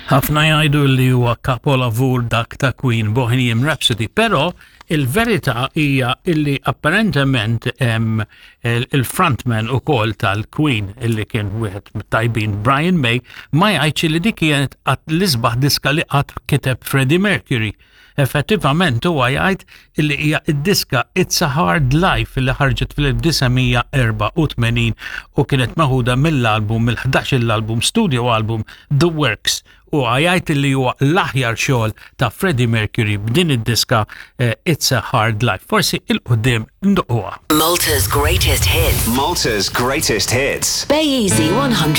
Ħafna jgħidu li huwa kapolavur dak ta' Queen Bohemian Rhapsody, però il-verità hija illi apparentement il-frontman ukoll tal-Queen illi kien wieħed mit-tajbin Brian May ma jgħidx li dik kienet l-isbaħ diska li qatt kiteb Freddie Mercury. Effettivament huwa jgħid illi hija id-diska It's a Hard Life li ħarġet fl-1984 u kienet meħuda mill-album mill-11 l-album studio album The Works u jgħid illi huwa l-aħjar xogħol ta' Freddie Mercury b'din id-diska eh, It's a Hard Life. Forsi il-qudiem nduquha. Malta's greatest hits. Malta's greatest hits. Bay Easy 100.